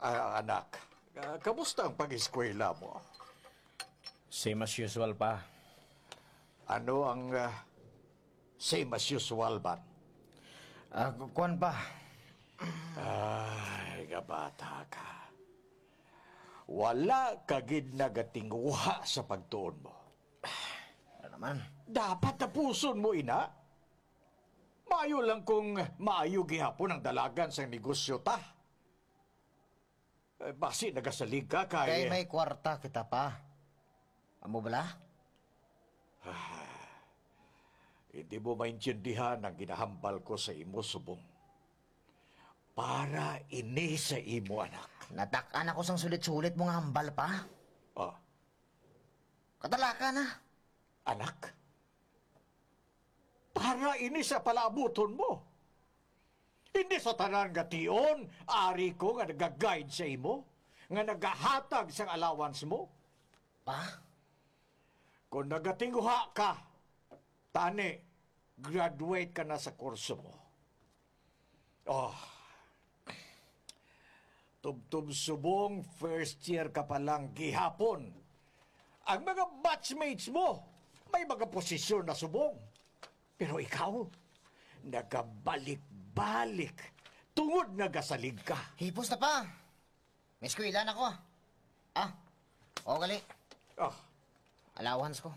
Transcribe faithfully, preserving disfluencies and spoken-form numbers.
Ah, anak, ah, kamusta ang pag-eskwela mo? Same as usual, pa. Ano ang, ah, same as usual man? Ah, ku-, kuwan, pa. Ay, kabata ka. Wala ka gid nagatinguha sa pagtuon mo. Ano naman? Dapat tapuson mo ina. Maayo lang kung maayo gihapon ang dalagan sang negosyo ta. Eh, basi nagasalig ka kay Kay may kwarta kita, pa. Amo bala? Ah, hindi mo maintindihan ang ginahambal ko sa imo, subong. Para ini sa imo, anak. Natak-an ako sang sulit-sulit mo nga hambal, pa. Ah, Katalaka na. Anak, para ini sa palaabuton mo. Hindi sa tanan nga tion, ari ko nga nagaguide sa imo, nga nagahatag sang allowance mo. Pa? Kung nagatinguha ka, tani, graduate ka na sa kurso mo. Oh, tubtob subong, first year ka pa lang gihapon. Ang mga batchmates mo, may mga posisyon na subong. Pero ikaw, nagabalik-balik tungod nagasalig ka. Hipos na pa. May eskwela na ko. Ah, o gali. Ah, Allowance ko.